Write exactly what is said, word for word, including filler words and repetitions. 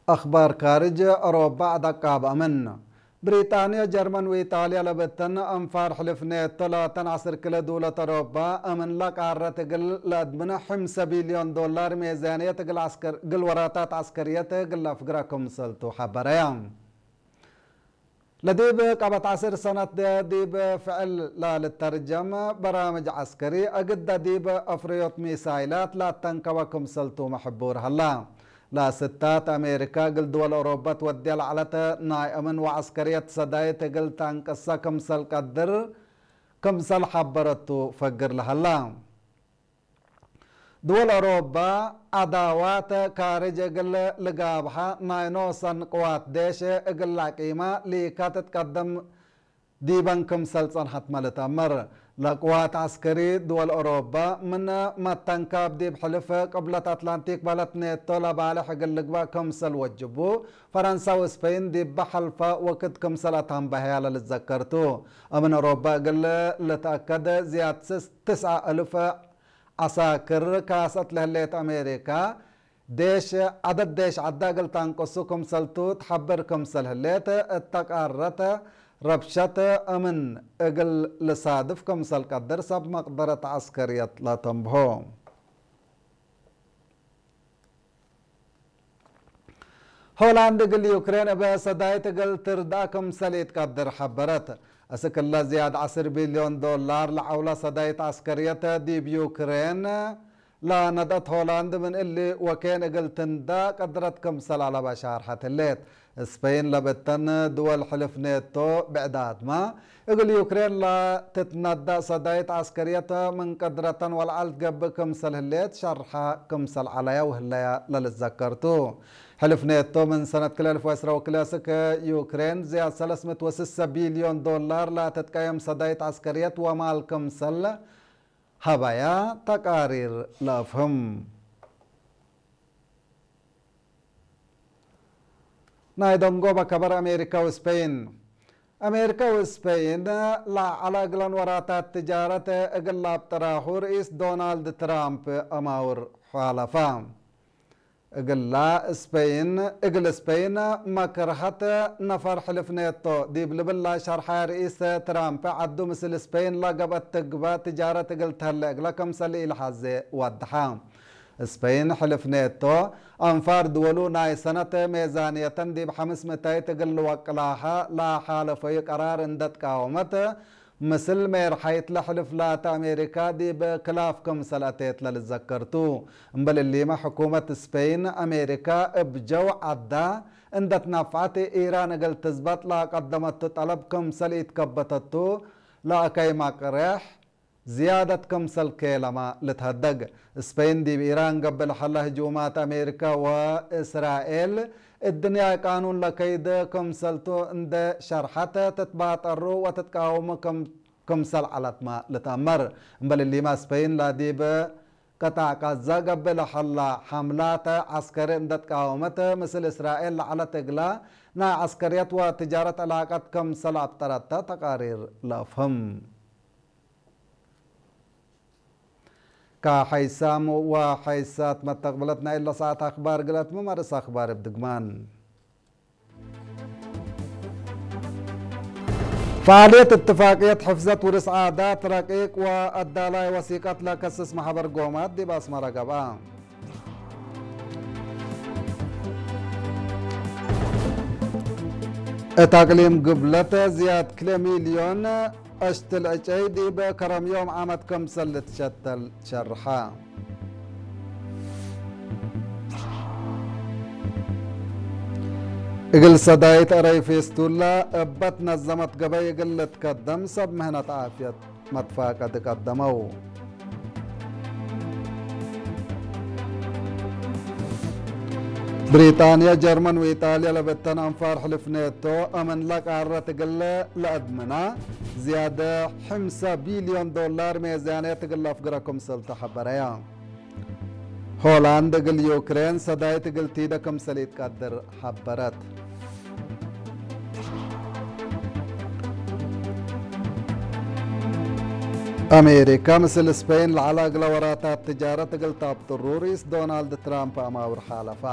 አክባር ካርጅ፣ ኦሮባ ዐድ አቃብ አምን። ብሪጣንየ፣ ጀርመን ወኢጣልየ ለብተን አንፋር ሕልፍ ኔቶ ላተን ዐስር ክለ ድውለት ኦሮባ፣ አምን ለቃረት እግል ለአድምነ፣ ሕምሰ ቢልዮን ዶላር ሜዛንየት እግል ዐስከር፣ እግል ወራታት ዐስከርየት እግል ለአፍግረ ክምሰልቱ ሐበረየ። ለዲብ ቀበት ዐስር ሰነት ዲብ ፍዕል ላልተርጀም በራምጅ ዐስከሪ፣ እግደ ዲብ አፍረዮት ሚሳይላት ላተንከበ ክምሰልቱ መሕቡር ሀላ። ለስታት አሜሪካ እግል ድወል ኦሮበ ትወድየ ለዐለት ናይ አምን ወዐስከርየት ሰዳይት እግል ተአንቅሰ ክምሰል ቀድር ክምሰል ሐበረቱ ፈግር ለሀላ። ድወል ኦሮባ ዐዳዋት ካርጅ እግል ልጋብሐ ናይ ኖሰን ቅዋት ዴሽ እግል ለአቂመ ሊካ ትትቀደም ዲበን ክምሰል ጸንሐትመ ልትአመር። ለቅዋት ዐስከሪ ድወል ኦሮባ ምን መተንካብ ዲብ ሕልፍ ቅብለት አትላንቲክ በህለት ኔቶ ለባልሕ እግል ልግበእ ክምሰል ወጅቡ፣ ፈረንሳ ወስፐይን ዲበ ሐልፈ ወክድ ክምሰል አትአንበሀያ ለልትዘከር ቱ። አምን ኦሮባ እግል ልትአከድ ዝያድ ስስ-፣ ትስዐ እልፍ ዐሳክር ካሰት ለህሌት አሜሪካ፣ ዴሽ፣ ዐደድ ዴሽ ዐዳ እግል ተአንቅሱ ክምሰልቱ ትሐብር ክምሰል ህሌት፣ እተ ቃረት ረብሸት አምን እግል ልሳድፍ ክምሰል ቀድር ሰብ መቅደረት ዐስከርየት ለተንብሆ። ሆላንድ እግል ዩክሬን እበ ሰዳይት እግል ትርድአ ክምሰል ኢትቀድር ሐበረት። እስክ እለ ዝያድ ዐስር ቢልዮን ዶላር ለዐውለ ሰዳይት ዐስከርየት ዲብ ዩክሬን ለነድአት ሆላንድ ምን እሊ ወኬን እግል ትንዳ ቀድረት ክምሰል አለበ ሻርሐት ህሌት። ስፐይን ለብተን ድወል ሕልፍ ኔቶ ብዕዳትመ፣ እግል ዩክሬን ለትትነደእ ሰዳይት ዐስከርየት ምን ቀድረተን ወለዐል ትገብእ ክምሰል ህሌት ሸርሐ ክምሰል ዐለያ ወህለያ ለልትዘከር ቱ። ሕልፍ ኔቶ ምን ሰነት ክልኤ አልፍ ወዐስረ ወክልኤ እስክ ዩክሬን ዝያድ ሰለስ ምእት ወስሰ ቢልዮን ዶላር ለትትቀየም ሰዳይት ዐስከርየት ወማል ክምሰል ሀበያ ተቃሪር ለአፍህም። ናይ ደንጎበ ከበር አሜሪካ ወስፐይን። አሜሪካ ወስፐይን ለዐለ እግለን ወራታት ትጃረት እግል ለአብጥራሁ ርኢስ ዶናልድ ትራምፕ አማውር ሓለፋ። እግላ ስፐይን፣ እግል ስፐይን መክርሀት ነፈር ሕልፍ ኔቶ ዲብ ልብላ ሸርሐ ርኢስ ትራምፕ፣ ዐዱ ምስል ስፐይን ለገብአት ትግበእ ትጃረት እግል ተህለ እግለ ክምሰል ኢለሐዜ ወድሐ። ስፐይን ሕልፍ ኔቶ፣ አንፋር ድወሉ ናይ ሰነት ሜዛንየተን ዲብ ሐምስ ምእታይት እግል ልወቅላሀ ለሓለፈዩ ቀራር እንደ ትቃወመት፣ ምስል ሜርሐይት ለሕልፍ ላተ አሜሪካ ዲብ ክላፍ ክምሰል አቴት ለልዘከር ቱ። እምበል እሊመ፣ ሕኩመት ስፔይን፣ አሜሪካ እብ ጀው ዐዳ እንደ ትነፍዐት፣ ኢራን እግል ትዝበጥ ለቀደመቱ ጠለብ ክምሰል ኢትከበተቱ ለአከይ መቅሬሕ ዝያደት ክምሰል ኬለመ ልትሀደግ። ስፔይን ዲብ ኢራን ገብእ ለሀለ ህጁማት አሜሪካ ወእስራኤል እድንያይ ቃኑን ለከይድ ክምሰልቱ እንዴ ሸርሐት፣ ትትባጠሩ ወትትቃወሙ ክም-፣ ክምሰል ዐለትመ ልትአመር። እምበል እሊመ፣ ስፔይን ለዲብ ቅጣዕ ቃዛ ገብእ ለሀላ ሐምላት ዐስከሪ እንዴ ትቃወመት፣ ምስል እስራኤል ለዐለት እግላ ናይ ዐስከርየት ወትጃረት ዕላቀት ክምሰል አብጠረተ ተቃሪር ለአፍህም። ከሐይሳም ወሐይሳት መተቅብለት ናይ እለ ሰዓት አክባር ግለትመ፣ መርስ አክባር እብ ድግማን። ፈዓልየት እትፋቅየት ሕፍዘት ውርስ ዓዳት ረቂቅ ወአዳላይ ወሲቀት ለከስስ መሐበር ጎማት ዲብ አስመረ ገብአ። እት አቅሊም ግብለት ዝያድ ክልኤ ሚልዮን አሽትል ዕጨይ ዲብ ከረም ዮም ዓመት ክምሰል ልትሸተል ሸርሐ። እግል ሰዳይት አረይ ፌስቱላ እበ ትነዘመት ገበይ እግል ልትከደም ሰብ ምህነት ዓፍየት መትፋቀድ ቀደመው። ብሪጣንያ፣ ጀርመን ወኢጣልያ ለብተን አንፋር ሕልፍ ኔቶ፣ አምን ለቃረት እግል ለአድምና ዝያድ ሕምሰ ቢልዮን ዶላር ሜዛንየት እግል ለአፍግረ ክምሰል ተሐበረያ። ሆላንድ እግል ዩክሬን ሰዳይት እግል ቲደ ክምሰል ኢትቀድር ሐበረት። አሜሪካ ምስል ስፔን ለዐለ እግለ ወራታት ትጃረት እግል ታብጥሩ ርኢስ ዶናልድ ትራምፕ አማውር ሓለፋ።